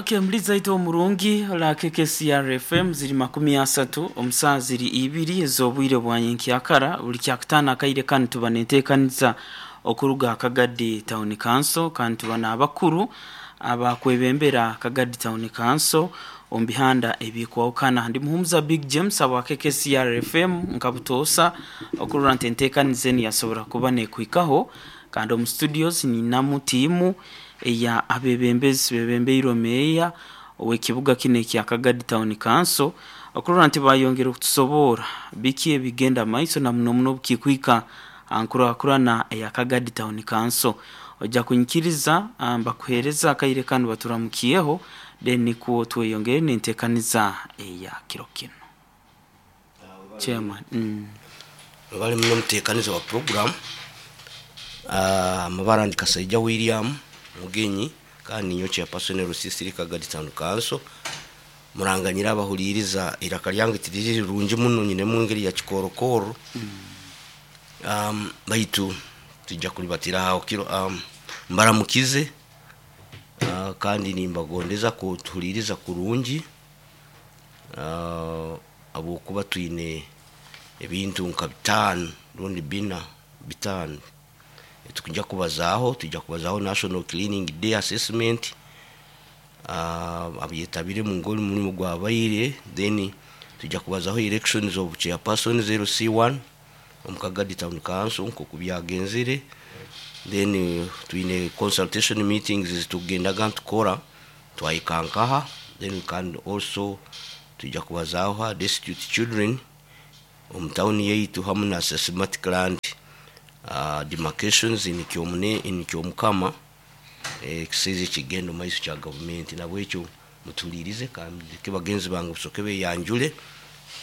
Okay, muliza itwe omurungi la KKCR FM ziri 30 omusaa ziri ibiri ez'obwire bwa nyenkyakara. Buli kyakutaano akaire kanu tuba nenteekaniza okuruga Kagadi Town Council, kandi tuba n'abakuru abakwebembera Kagadi Town Council omu bihanda ebikwahukana. Ndi Muhumuza Big James abwa KKCR FM nka butoosa okurora nti enteekaniza enu yasobora kuba nekuhikaho. Kandi omu studios ninamu tiimu eya abebembezi bebembeirwe meeya ow'ekibuga kinu ekya Kagadi Town Council okurora nti bayongera okutusoboora biki ebigenda maiso na muno muno obukikwika aha nkurakurana eya Kagadi Town Council. Oija kunyikiriza mbakuheereza akaire kanu baturamukyeho then nikwo tweyongere n'enteekaniza eya kiro kinu. Chairman. Mwebale muno omutekaniza wa puroguramu. Amabara ndi Kasaija William Mugenyi kandi ninyowe chairperson LC3 Kagadi Town Council. Muranganyire abahuliiriza eiraka lyange tiriri rirungi muno nyinemu engeri ya kikoorokooro baitu twija kulibatira aho kiro. Mbaramukize kandi nimbagondeza kutuhuliiriza kurungi habwokuba twine ebintu nka bitaano rundi bina bitaano ebitukujya kubazaaho. Twija kubazaaho National Cleaning Day Assessment, abyetabiremu ng'omurimo gwabaire, then twija kubazaho elections of chairpersons LC1 omu Kagadi Town Council nk'oku byagenzire, then twine consultation meetings ezitukugendaga nitukora twahika nkaha, then we can also twija kubazaaho ha destitute children omu tawuni yaitu hamu na systematic land demarcations in Kyomukama ekisaizi ekigenda omu maiso kya gavumenti. Nabwekyo mutuhuliirize kandi ndeke bagenzi bange basooke beyanjule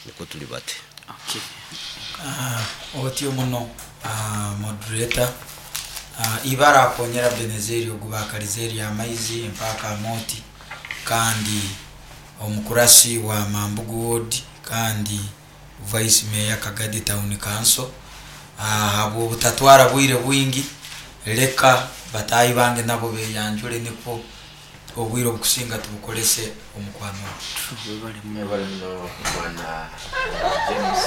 nukwo tulibate. Okay. Otyo muno moderator. Ibara akonyera Benezeri ogu bakalize erya Maizi empaka Amooti kandi omukurasi wa Mambugu Ward kandi Vice Mayor Kagadi Town Council. Habw'obutatwara bwire bwingi, leka bataahi bange nabo beyanjule nikwo obwire obukusinga tubukolese omu kwanura. Webale muno. Webale muno bwana James.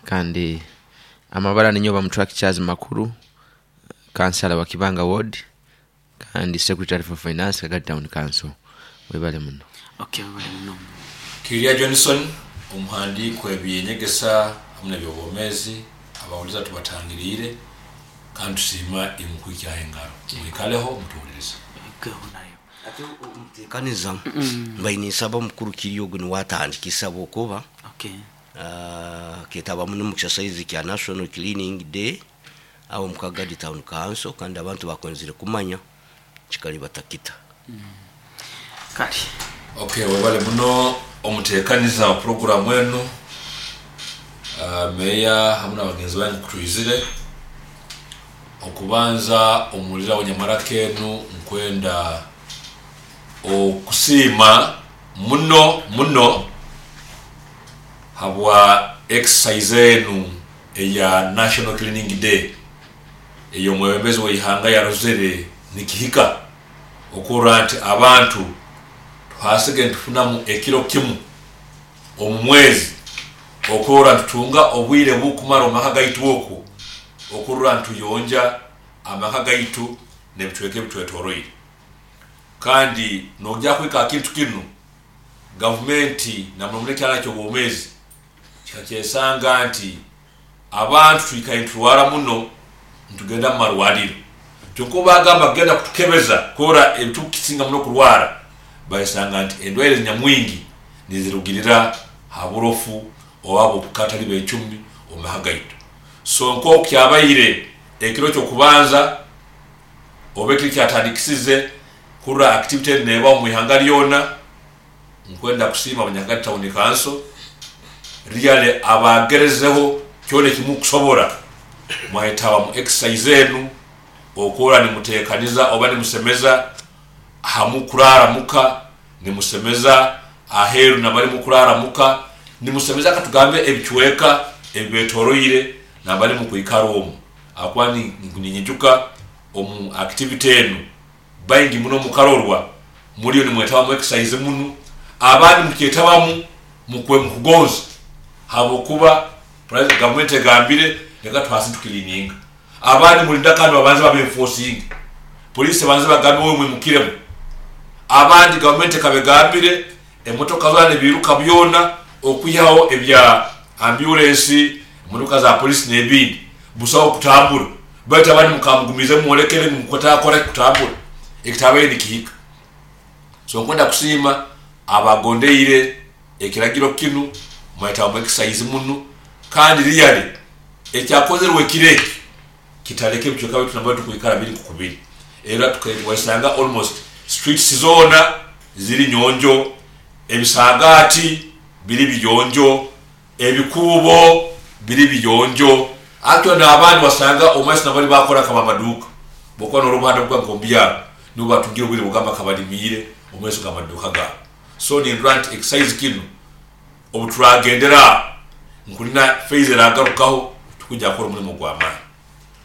Kandi amabara ninyowe Bamutwaki Charles Makuru, kansala wa Kibanga Ward kandi Secretary for Finance Kagadi Town Council. Webale muno. Okay, webale muno. Kirya Johnson, omuhandiiki w'eby'enyegesa hamu n'eby'obwomeezi, abahuliiriza tubatangiriire kandi tusiima imwe kwikyaho engaro. Mwikaleho mutuhulirize. Ati omutekaniza mbaire ninsaba omukuru Kirya ogu niwe atandikise habwokuba Okay. aketabamu n'omu exercise kya National Cleaning Day aho omu Kagadi Town Council kandi abantu bakwenzire kumanya kikali batakita. Kale. Ok, webale muno omutekaniza wa puroguramu enu, Meeya hamu n'abagenzi bange kutwizire. Okubanza omuwulira w'enyamaraka enu nkwenda okusiima muno muno habwa exercise enu eya National Cleaning Day ey'omwebembezi w'eihanga yarozere nikihika okurora nti abantu tuhasige nitufunamu ekiro kimu omu mwezi okurora nitutunga obwire bukumara omu maka gaitu okwo okurora nituyonja amaka gaitu n'ebicweka ebitwetoroire. Kandi nogya kuhika aha kintu kinu, gavumenti na muno muno ekyana ky'obwomeezi kikakyesanga nti abantu twikaire niturwara muno nitugenda mu marwariro. Kyonka obu bagamba kugenda kutukebeza kurora ebitukukisinga muno kurwara, bayesanga nti endwaire nyamwingi nizirugirira ha burofu oba habw'okukatali becumi omu maka gaitu. So nk'oku kyabaire ekiro ky'okubanza oba ekiro ekyatandikisize kurora activity enu nebaho omu ihanga lyona, nkwenda kusiima Abanyakagadi Town Council really abagerezeho kyona ekimukusobora mwayetaba mu exercise enu okurora nimutekaniza oba nimusemeza hamukurara muka, nimusemeza aheru nambali mukurara muka, nimusemeza katugambe ebicweka ebibetoroire nambali mukwikara omu. Ahakuba ninyijuka omu activity enu baingi muno mukarorwa Muliyo nimwetabamu exercise munu, abandi mukyetabamu mukwe mukugonza habwokuba gavumenti egambire leka tuhasi tukilininga. Abandi mulinda kandi babanze babenforcing, polisi banze bagambe wewe mwimukiremu. Abandi gavumenti ekabegambire emotoka zona nebiruka byona okwihaho ebya ambulance, emotoka za polisi n'ebindi busaho kutambura, baitu abandi mukamugumize mwolekere mukutakora kutambura ekitabaire nikihika. So nkwenda kusiima abagondeire ekiragiro kinu, mwetabamu exercise munu, kandi really ekyakozerwe ekiro eki kitaleka ebicweka byaitu nambere tukwikara biri nk'okubiri. Era tukawesanga almost streets zoona ziri nyonjo, ebisagaati biri biyonjo, ebikuubo biri biyonjo. Actually n'abandi wasanga omumaiso nabali bakora kaba amaduuka, bwokuba n'orubuhanda bwa nk'omubyaro nibo batungire obwire bugamba kabalimiire omumaiso g'amaduuka gaabo. So nindora nti exercise kinu obuturagendera nkulina phase eragarukaho tukujja kukora omulimu gw'amaani.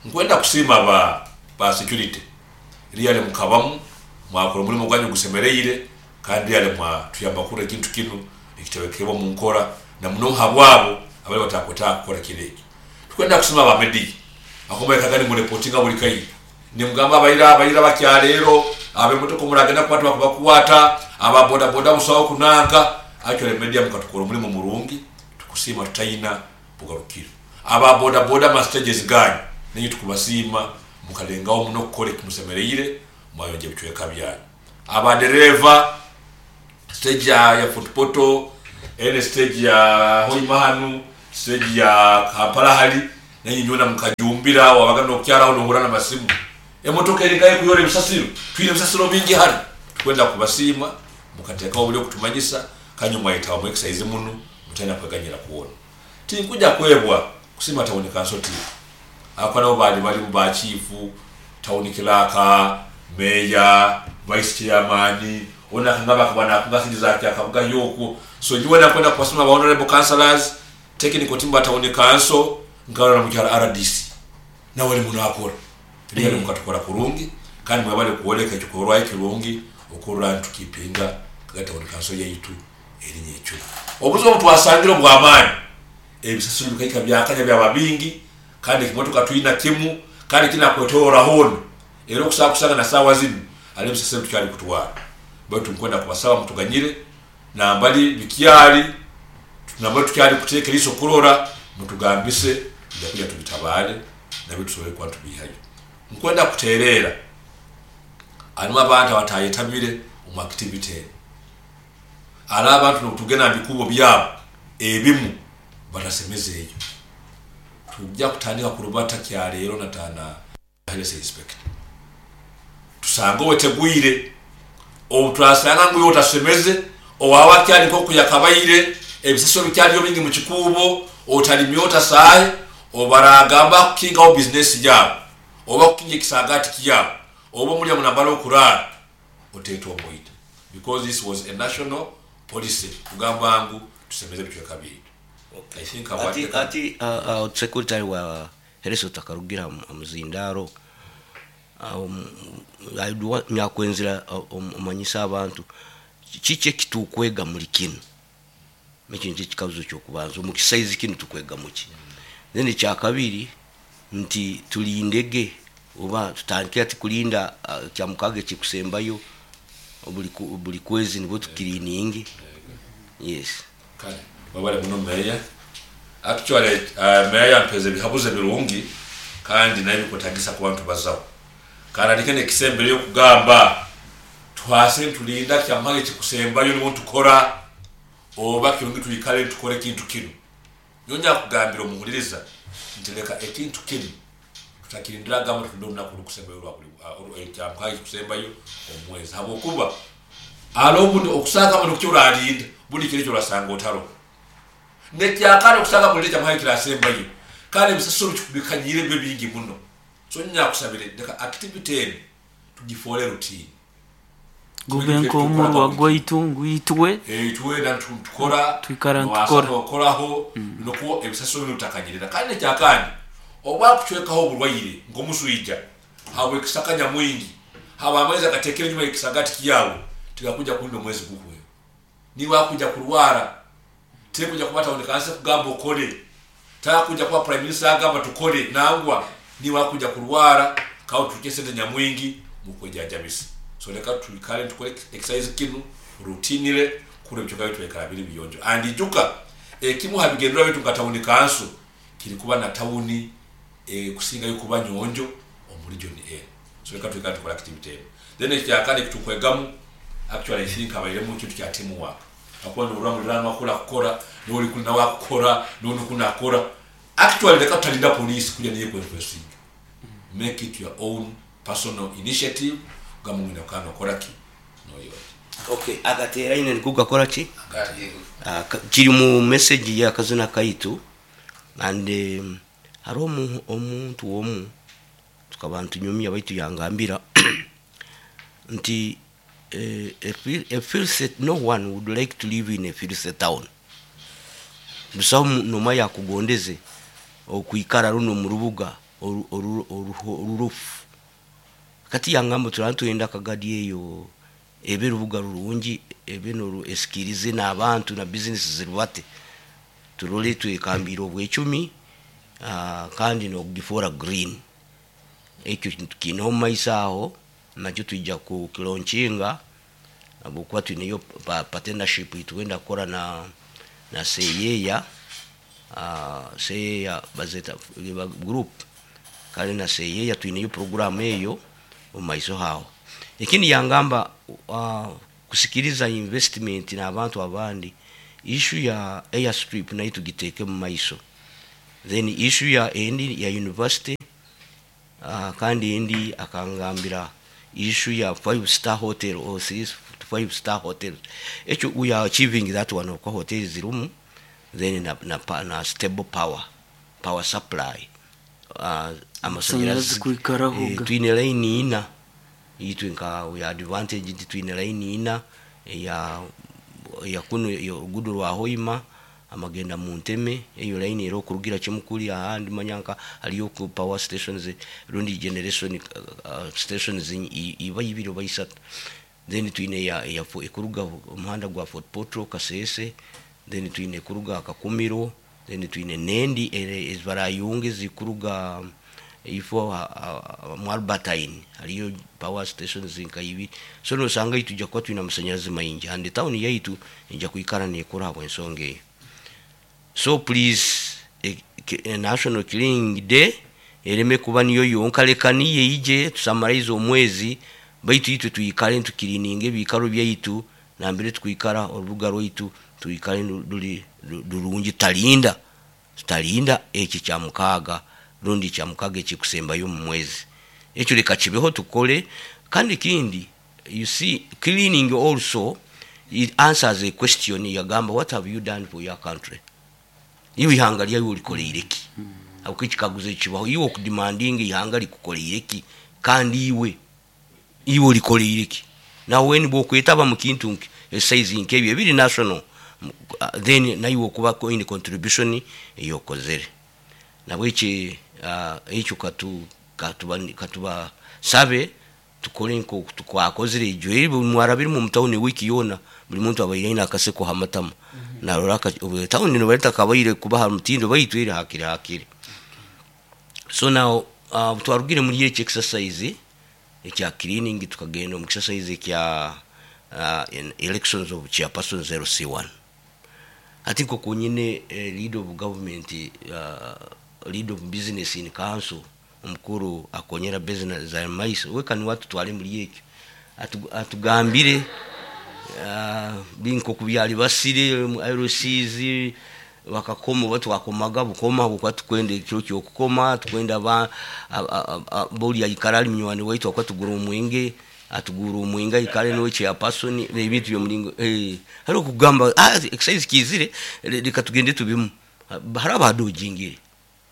Nkwenda kusiima ba security, really mukabamu mwakora omulimu gwanyu gusemereire, kandi really mwatuyamba kurora ekintu kinu nikitebekebwa omu nkora, na muno habwabo abali batakwetaaga kukora kiro eki. Tukwenda kusiima aba media akomaikaga nimureportinga buli kaire, nimugamba abaira bakyaleero abemotoka omuragenda kukwata bakubakwata, aba boda boda busaho kunanka. Actually media mukatukora omulimu murungi, tukusiima tutayina bugarukiro. Aba boda boda ma stages ganyu nenye tukubasiima, mukalengaho muno kukora ekimusemereire, mwayonja ebicweka byanyu. Aba dereva stage ya Fort Portal, ene stage ya Hoima hanu, stage ya Kampala hali, nenye nyona mukajumbira wabaga nokyaraho nohura n'amasimu, emotoka eringaye kuyora ebisasiro, twine ebisasiro bingi hano. Tukwenda kubasiima mukateekaho obuli okutumanyisa, kanyu mwayetabamu mu exercise muno mutayina kweganyira kuwona. Tinkuja kwebwa kusiima town council team, ako nabo bali balimu ba chief, town clerk, mayor, vice chairman, ona kangaba akaba nakunga sente za kyakabuga yokwo. So nyiwe nakwenda kubasima ba honorable councillors, technical team ba town council, nkarora mukyala RDC nawe ali munakora really mukatukora kurungi, kandi mwebale kuoleka ekikorwa ekirungi okurora ntukipinga kaga town council yaitu erinnya ekyo. Obuzibu obutwasangire obw'amaani, ebisasiro bikaika byakanya byaba bingi, kandi ekimotoka twina kimu kandi kinakwetoroora hoona, era okusobola kusanga na saawa zinu hariho ebisasiro tukyali kutwara. Baitu nkwenda kubasaba mutuganyire nambali bikyali nambali tukyali kuteeka eriiso kurora, mutugambise tujja kuja tubitabaale nabyo tusobole kuba tubihayo. Nkwenda kutereera harimu abantu abatayetabire omu activity enu, hariho abantu nobutugenda mu bikuubo byabo ebimu batasemeze eyo. Tujja kutandika kurubata kyaleero natana health inspector, tusange owetegwire. Obu turasanga ngu iwe otasemeze, owaba akyali nkoku yakabaire, ebisasiro bikyaliyo bingi mu kikuubo, otalimye otasaahe, obaragamba kukingaho bizinesi yaabo oba kukinga ekisagaati kyabo oba omulya munambala okuraara, oteetwa omuita, because this was a national policy kugamba ngu tusemeze ebicweka byaitu. I think Ati secretary wa health otakarugira muzindaro, nyakwenzera omanyisa abantu kiki ekitukwega muri kinu, ekyo nikyo ekikabuzo kyokubanza omu kisaizi kinu tukwega muki. Then ekyakabiri nti tulindege oba tutandike ati kulinda kyamukaga ekikusembayo buli kwezi nibwo tukiriningi. Yes. Kale wabale muno meya. Actually meya yampeza ebihabuzo ebirungi kandi nayo bikwetagisa kuba ntubazaho. Kandi andike nekisembere yokugamba tuhase ntulinda kyamukaga ekikusembayo nibwo ntukora, oba kirungi twikale ntukora ekintu kinu. Nyowe nyakugambira omuhuliriza nti leka ekintu kinu tutakirindira gamba tulinde olunaku olukusembayo lwa buli kyamukaga ekikusembayo omwezi, habwokuba hariho obundi okusanga muno kukyo oralinda buli kiro ekyo orasanga otaro nekyakare okusanga mulinde kyamukaga ekirasembayo, kandi ebisasiro bikanyire bibe bingi muno. So nyakusabire leka activity enu tugifoole routine, gube nk'omurwa gwaitu ngwitwe itwe tukora twikara ntukora okoraho nokwo ebisasiro binu bitakanyirira. Kandi nekyakandi oba kucwekaho oburwaire nk'omuswija habwekisaka nyamwingi, haba amaizi agatekere enyuma y'ekisagati kyawe Tigakuja kulinda omwezi guhwe. Niwe akuja kurwara, tekuja kuba tawuni kansi kugamba okole, takuja kuba prime minister agamba tukole, nangwa niwe akuja kurwara kawo tuke sente nyamwingi mukwejajabisa. So leka tuikale tukole exercise kinu routinely kure bichoka bitu ekara biri biyonjo. And ijuka ekimu habigendera bitu nga tawuni kansu kiri kuba na tawuni kusinga yukuba nyonjo omuri John A. So leka tuikale tukole activity eno. Then ekyakane kitukwegamu actually I think abairemu kintu kya teamwork. Akuba nurura mulirano akora kukora, n'oli kuli nawe akukora, n'oli kuna akora. Actually leka tutalinda police kuja niye kwenfesinga. Make it your own personal initiative. Gamu mwina kano kora ki? No yote. Okay, agatera ine nikugakora ki? Kiri mu message ya kazina kaitu and hariho omuntu omu tukaba ntunyumya baitu yangambira nti a filthy, no one would like to live in a filthy town. Busaho noma yakugondeze okuikara runo mu rubuga orurufu. Kati yangamba turantwenda kagadi eyo ebe rubuga rurungi ebe noru esikirize n'abantu na business zirubate turole twekambira obwecumi, kandi nokugifora green. Ekyo kintu kiine omu maiso aho nakyo twija kukilaunchinga ahabwokuba twineyo partnership itwenda kukora na Seyeya, Seyeya bazeta group kale na Seyeya twineyo program eyo omu maiso haho. Ekindi yangamba kusikiriza investment n'abantu abandi, issue ya airstrip nayo tugiteeke mu maiso, then issue ya endi ya university, kandi endi akangambira issue ya 5 star hotel or 3 to 5 star hotel. Ekyo we are achieving that one of hotels zirumu, then na stable power supply. Amasanyarazi kwikaraho ga. Twine line ina itwe nka we are advantage nti twine line ina ya kuno ya orugudo rwa Hoima amagenda mu nteme, eyo line era okurugira kimukuli ahandi manyanka hariyo ku power stations rundi generation stations iba ibiri oba isatu. Then twine ya ekuruga omuhanda gwa Fort Portal Kasese, then twine kuruga Kakumiro, then twine nendi ezibarayunge zikuruga ifo mu Albertine hariyo power stations nka ibiri. So nosanga itujja kuba twine amasanyarazi maingi and town yaitu ejja kwikara nekura habw'ensonga eyo. So please, National Cleaning Day ereme kuba niyo yonka, leka niyo ije tusummarize omwezi, baitu itwe twikare ntukirininga ebikaro byaitu nambere tukwikara orubuga rwaitu twikare ruri rurungi, tutalinda eki kya mukaaga rundi kya mukaaga ekikusembayo mu mwezi. Ekyo leka kibeho tukole. Kandi kindi, you see, cleaning also it answers a question yagamba what have you done for your country? Iwe ihanga lyawe olikoleire ki? Aho ekikaguzo ekibaho, iwe okudemandinga ihanga likukoleire ki? Kandi iwe olikoleire ki? Nawe when bwokwetaba mu kintu exercise nk'ebyo ebiri national, then naiwe okuba in contribution eyokozere. Nabweki ekyo katuba sabe tukore nko twakozire ejo eri mwarabiri mu town wiki yona buli muntu abaire aine akaseko hamatama. Narora obu town no bareta kabaire kuba ha mutindo baitu eri hakiri hakiri. So now twarugire muri eki exercise ekya cleaning tukagenda mu exercise ekya elections of chairperson 0C1. Ati nko kunyine lead of government, lead of business in council omukuru akonyera business za maiso we kani watu twale muri ekyo atugambire binko kubyali basire mu LCs bakakoma batu bakomaga bukoma bukwa tukwenda ekiro kyo kukoma tukwenda ba boli ayikara ali munywani waitu akwa tugura omwenge atugura omwenge ayikare niwe chairperson ebintu byo mulingo hari okugamba exercise kizire reka tugende tubimu hari abadojingire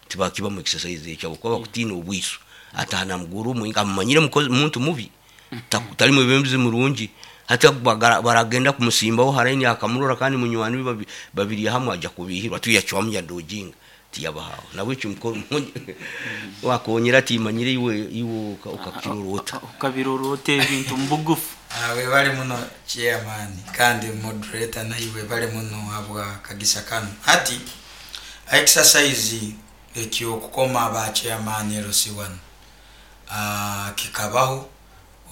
tibakiba mu exercise ekyo kuba bakutina obwiso atana muguru omwenge amanyire muntu mubi tali mwebembizi murungi hata baragenda kumusimbaho haraini akamurora kandi munywani babiri hamwe aja kubihirwa tuyachwamya dojinga Tiyabahaho nabwekyo wakonyera timanyire iwe ukakirora ota. Ukabirora ota ebintu mubugufu? Webale muno chairman, kandi moderator naye webale muno habwa kagisa kanu. Hati exercise ekyokukoma ba chairman LC1 kikabaho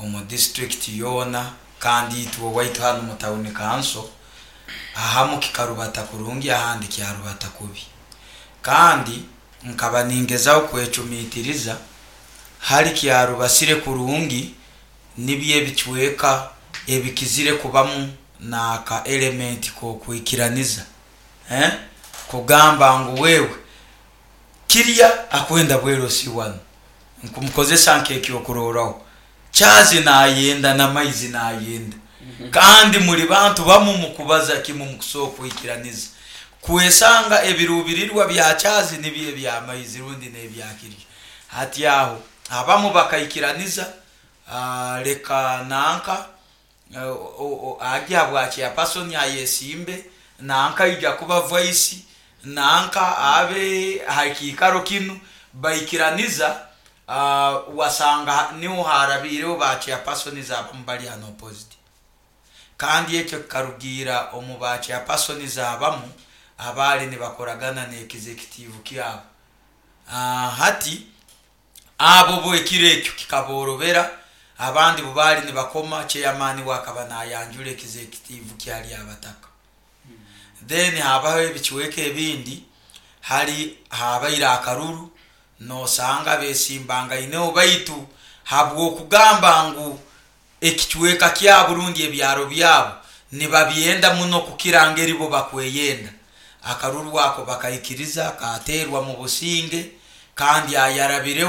omu district yoona, kandi itwe owaitu hanu mu town council ahamu kikarubata kurungi, ahandi kyarubata kubi. Kandi nkaba ningezaho kwecumitiriza hali kyarubasire kurungi, nibyo ebicweka ebikizire kubamu n'aka element k'okwikiraniza, kugamba ngu wewe kirya akwenda bwero si wanu, nkumukozesa nk'ekyokurorraho, Chazi nayenda na maizi nayenda, kandi muli bantu bamu mukubaza kimu, mukusobola kwikiraniza kwesanga ebirubirirwa bya Chazi nibyo ebya maizi rundi n'ebya kirya. Hati aho abamu bakaikiraniza, leka nanka ajya bwa chairperson ayesimbe, nanka ija kuba vice, nanka abe hakiikaro kinu, baikiraniza. Wasanga niho harabiireho ba chairpersons abamu bali unopposed, kandi ekyo kikarugiira omu ba chairpersons abamu abaali nibakoragana n'executive kyabo. Hati abo bo ekiro ekyo kikaborobera, abandi bo baali nibakoma chairman we akaba nayanjura executive kyali abataka. Then habaho ebicweka ebindi hali habaire akaruru, nosanga besimbangaineho, baitu habwokugamba ngu ekicweka kyabo rundi ebyaro byabo nibabyenda muno kukira ngeri bo bakweyenda, akaruru ako bakaikiriza katerwa mu businge, kandi ayarabireho.